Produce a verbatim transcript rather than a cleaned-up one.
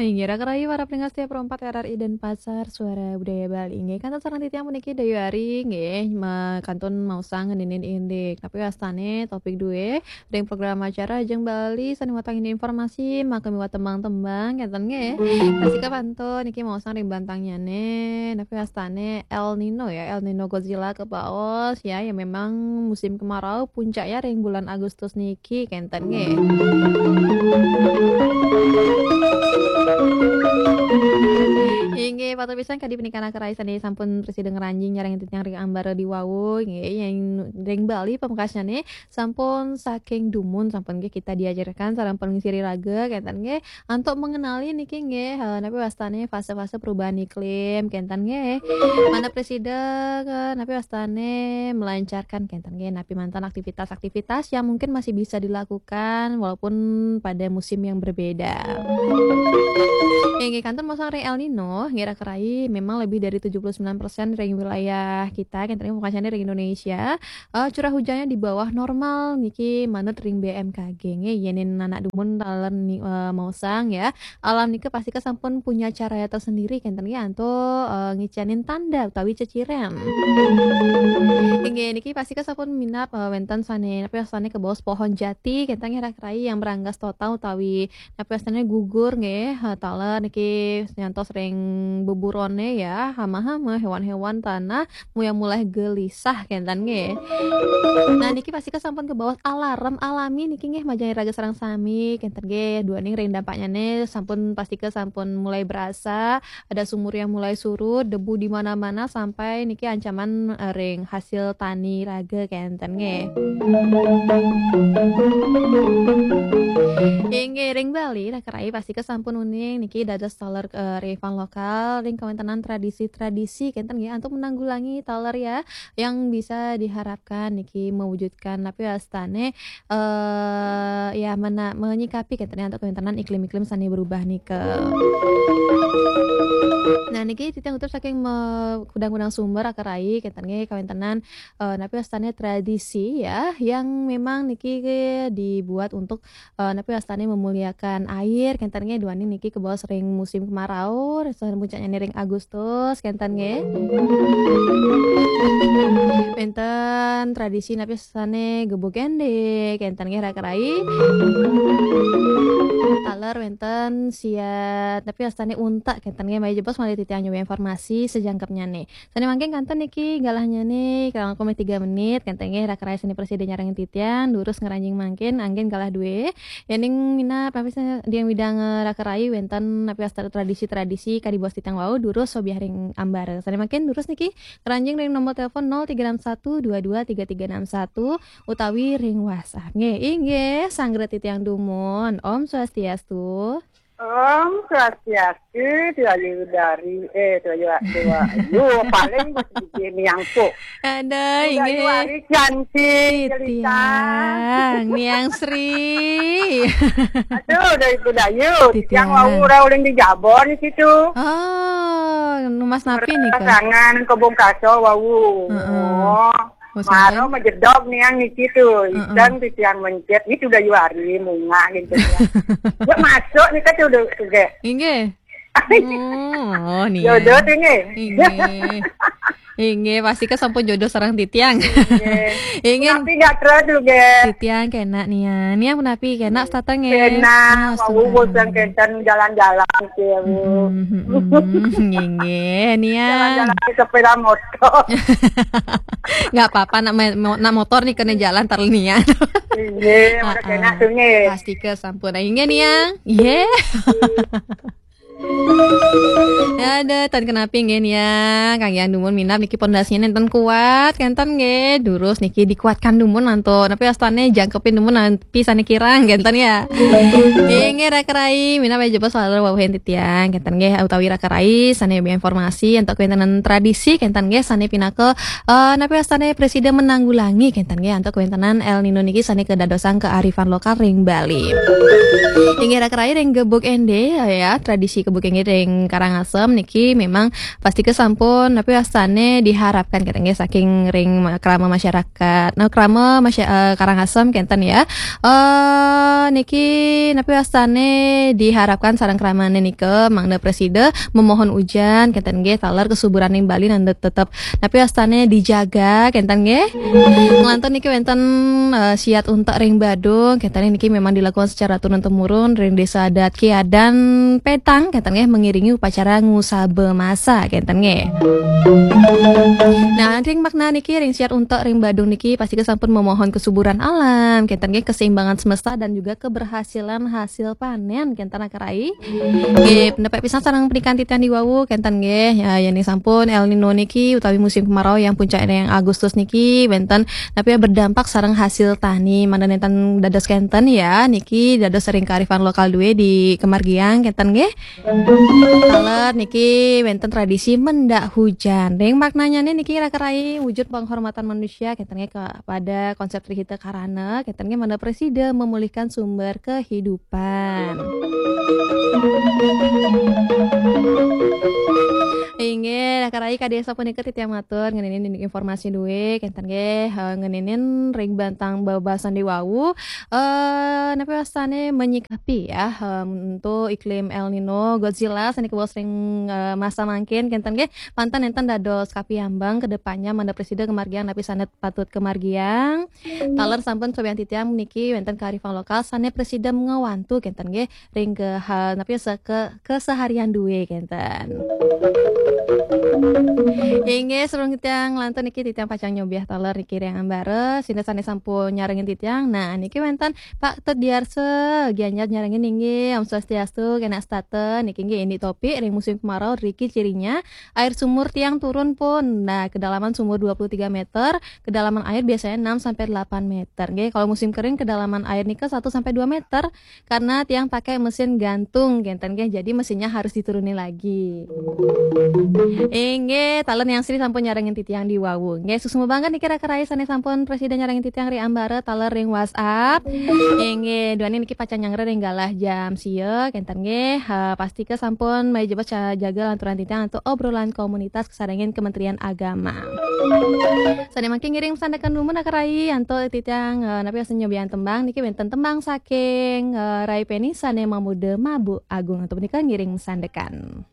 Inggih, raka rahayu para pendengar setia Pro empat R R I Denpasar, Suara Budaya Bali. Inggih, kantun sareng titiang puniki Dayu Ari, inggih, ma-, kantun maosang ngeninin indik. Napi wastane topik duwe ring program acara Jeng Bali sane watangin informasi, maka miwah tembang-tembang, kenten nggih. Pastika kantun niki maosang ring bantangnyane, napi wastane El Nino ya, El Nino Godzilla kebaos ya, yang memang musim kemarau puncaknya ring bulan Agustus niki, kenten nggih. Inggih, patut pisan kadi punika raka rahayu sane sampun prasida ngranjing nyarengin titiang ring ambara diwawu, inggih, yang ring Bali pamekasnyane sampun saking dumun, sampun nggih kita diajarkan sareng pengisi raga, kenten nggih, antuk mengenali niki nggih, eh, napi wastane fase-fase perubahan iklim, kenten nggih. Manah prasida, eh, napi wastane melancarkan, kenten nggih, napi manten aktivitas-aktivitas yang mungkin masih bisa dilakukan walaupun pada musim yang berbeda. Inggih, kantun maosang ring El Nino, nggih raka rahayu, memang lebih dari tujuh puluh sembilan persen ring wilayah kita, kenten nggih, pamekasnyane ring Indonesia, eh, curah hujannya di bawah normal niki manut ring B M K G nggih. Yenin anak dumun taler ni-, eh, maosang ya. Alam nika pastika sampun punya caraya tersendiri kenten nggih antuk, eh, ngicenin tanda utawi ceciren. Inggih niki pastika sampun minab, eh, wenten sane napi sane kebaos pohon jati kenten nggih raka rahayu yang beranggas total utawi napi wastane gugur nggih, eh, taler niki nyantos ring beburone ya, hama-hama hewan-hewan tanah mulai-mulai gelisah kenten nggih. Nah, niki pastika sampun kebaos alarm alami niki nggih majeng raga sareng sami kenten nggih. Duaning ring dampaknyane sampun pastika sampun mulai berasa ada sumur yang mulai surut, debu di mana-mana sampai niki ancaman, eh, ring hasil tani raga kenten nggih. Inggih, ring Bali raka rahayu pastika sampun uning niki dados taler, eh, kearifan lokal ring kawentenan tradisi-tradisi kenten nggih antuk menanggulangi taler ya yang bisa diharapkan niki mewujudkan napi wastane, eh, ya mena-, menyikapi kenten nggih antuk kawentenan iklim-iklim sane berubah nika. Nah, niki titiang utup saking me-, kudang-kudang sumber raka rahayu kenten nggih kawentenan, eh, napi wastane tradisi ya yang memang niki dibuat untuk, eh, napi wastane memuliakan air kenten nggih, duaning niki kebaos ring musim kemarau, saha puncaknyane ring Agustus kenten nggih. Wenten tradisi napi wastane gebug ende kenten nggih raka rahayu. Taler wenten siat napi wastane untak kenten nggih, maya jebos malih titiang nyuwun informasi sajangkepnyane. Sane mangkin kantun niki galahnyane, kirang langkung meh tiga menit, kenten nggih raka rahayu sane prasida nyarengin titiang, durus ngranjing mangkin anggen galah duwe. Yening minab, napi sane titiang widang, eh, raka rahayu wenten napi wasta tradisi-tradisi kadi baos titiang wau, durus sobiah ring ambara. Sane mangkin durus niki ngranjing ring nomor telepon nol tiga enam satu dua dua tiga tiga enam satu utawi ring WhatsApp. Nggih, inggih, sanggra titiang dumun. Om Swastiastu. Om Swastiastu, Dayu Ari, eh, Dayu, Dayu, yo, paling bos gigi niang puk. Aduh, Dayu inggih. Ari cantik, jelita. Titiang, Niang Sri. Aduh, Dayu, Dayu. Titiang. Titiang wau ora uling di Jabon situ. Oh, numbas napi nika? Pasangan Kebun Kaso wau. Heeh. Oh. Bos maro mangkin majedog niang niki tu. Heeh. Iseng titiang mencet, ni tu Dayu Ari, mungah gitu ya. Ya masuk ni kan tu, tu, tu, ge. Inggih. Oh, niang. Jodoh tu nggih. Inggih. Inggih, pastika sampun jodoh sareng titiang. Inggih. Inggih. Tapi nggak terus tu, ge. Titiang kena niang. Niang punapi kena setata nggih? Kena, oh, wau setata. Bosan kenten jalan-jalan ke, Bu. Mm-mm, mm-mm. Inggih, niang. Jalan-jalan sepeda motor. Nggak apa-apa, nak me-, mo-, nak motor nih kena jalan tar niang. Inggih, udah kena tu nggih. Pastika sampun. Inggih, niang. Inggih. Aduh, tan kenapi nggih niang, kangge dumun minab niki pondasinya nenten kuat, kenten nggih, durus niki dikuatkan dumun antuk. Napi wastane jangkepin dumun napi sane kirang, kenten ya. Inggih raka rahayu, minab jebos soal wawuhin titiang, kenten nggih, utawi raka rahayu sane informasi antuk kawenten tradisi, kenten nggih, sane pinaka, eh, napi wastane prasida menanggulangi, kenten nggih, antuk kawentenan El Nino niki sane kadadosang kearifan lokal ring Bali. Inggih raka rahayu ring gebuk ende, ya, tradisi Bukit ring Karangasem niki memang pasti kesampun, tapi wastane diharapkan kenten nggih saking ring ma-, krama masyarakat. Nah, krama masya-, eh, Karangasem kenten ya. Eh, niki napi wastane diharapkan sareng kramane nika mangda presida memohon ujan kenten nggih taler kesuburan ring Bali nanda tetep napi wastane dijaga kenten nggih. Ngelantur niki wenten, eh, siat untek ring Badung kenten niki memang dilakukan secara turun temurun ring Desa Adat Kiadan Petang kenten nggih mengiringi upacara ngusaba masa kenten nggih. Nah, ring makna niki ring siat untek ring Badung niki pasti kesampun memohon kesuburan alam kenten nggih keseimbangan semesta dan juga keberhasilan hasil panen kenten Raka Rai. Nggih, pendapek pisan sareng pernikahan titiang di wau kenten nggih. Ya, yen sampun El Nino niki utawi musim kemarau yang puncaknya yang Agustus niki wenten napi ya berdampak sareng hasil tani. Mangda nenten dados kenten ya, niki dados ring kearifan lokal duwe di kemargiang kenten nggih. Taler niki wenten tradisi mendak hujan. Ring maknanya nih niki Raka Rai wujud penghormatan manusia kenten nggih kepada konsep Trihita Karana kenten nggih mangda presida memulihkan sumber kehidupan. Inggih, Raka Rai kadi sapunika titiang matur ngeninin informasi duwe kenten nggih, eh, ngeninin ring bantang bebasan di wau. Eh, napi wastane menyikapi ya, em, untuk iklim El Nino, Godzilla sane kebos ring, eh, masa mangkin kenten nggih, mantan enten dados kapiambang ke depannya mangda presida kemargiang napi sane patut kemargiang. Taler sampun sobian titiang niki wenten kearifan lokal sane presida ngewantu kenten nggih ring ke ha-, napi ya, se-, ke-, keseharian duwe kenten. Inggih, sebelum titiang lantur niki titiang pacang nyobiah taler niki ring ambara, sinda sane sampun nyarengin titiang. Nah, niki wenten Pak Tut Diarsa, Gianyar nyarengin inggih, Om Swastiastu, kena setata, niki nggih ini topik ring musim kemarau, riki cirinya air sumur tiang turun pun. Nah, kedalaman sumur dua puluh tiga meter, kedalaman air biasanya enam sampai delapan meter. Nggih, kalau musim kering kedalaman air nika satu sampai dua meter karena tiang pakai mesin gantung kenten nggih. Jadi mesinnya harus diturunin lagi. Inggih, taler Yang Sri sampun nyarengin titiang di wau. Nggih, suksma banget niki Raka Rai sane sampun presida nyarengin titiang ring ambara taler ring WhatsApp. Inggih, duaning niki pacang nyanggra ring galah jam sia kenten nggih. Ha, pasti ke sampun maya jebos ca-, jaga lanturan titiang antuk obrolan komunitas kasarengin Kementerian Agama. Sane mangkin ngiring sandekan dumun Raka Rai antuk titiang, eh, napi wastane nyobian tembang niki wenten tembang saking, eh, Rai Peni sane mamuda Mabuk Agung antuk punika ngiring sandekan.